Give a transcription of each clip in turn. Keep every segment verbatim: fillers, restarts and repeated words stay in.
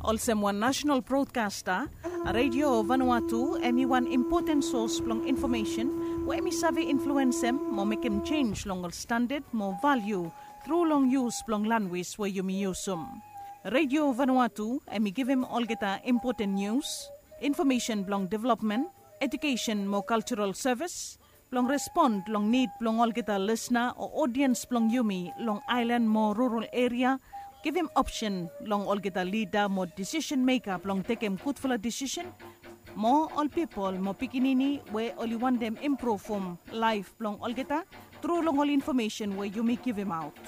Olsem wan nasenal brodkasta, Redio Vanuatu em i wan impoten sos blong infomesen we em i save influensem mo mekem jenj long ol standad mo valiu tru long yus blong lanwis we yumi yusum. Redio Vanuatu em i givim olgeta impoten nius, infomesen blong developmen, ejukesen mo kaljaral sevis, blong respon long nid blong olgeta lisna o odiens blong yumi long aelan mo rural eria, givim opsen long olgeta lida mo disisen meka blong tekem gudfala disisen, mo ol pipol mo pikinini we oli wantem impruvum laef blong olgeta tru long ol infomesen we yumi givimaot.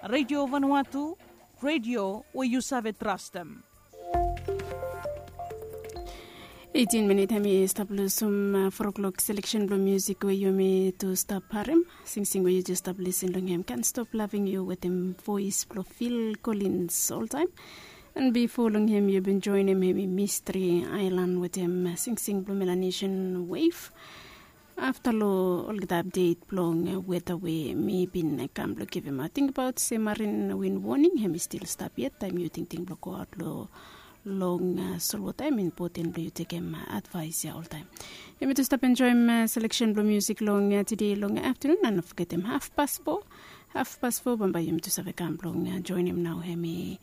Redio Vanuatu, redio we yu save trastem. Eitin minit hem i stap lusum fo klok seleksen blong musik we yumi tu stap harim. Singsing we yu jes stap lisin long hem, Can't Stop Loving You wetem voes blong Phil Collins oltaem. An bifo long hem yu bin joenem hem i Mystery Island wetem singsing blong Melanesian Wave. Afta long olgeta apdet blong weta we mi bin kam blong givimaot, tingbaot se marin win woning hem i stil stap yet taem yu tingting blong goaot long long solwota em impoten blong yu tekem advaes ya oltaem. Yumi tu stap enjoem seleksen blong musik long tede long aftanun, an no fogetem hafpas fo, hafpas fo bambae yumi tu save kam blong joenem nao hem i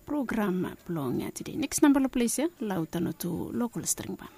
program blong tede. Neks namba long ples ya, Lauta Notu Lokol String Ban.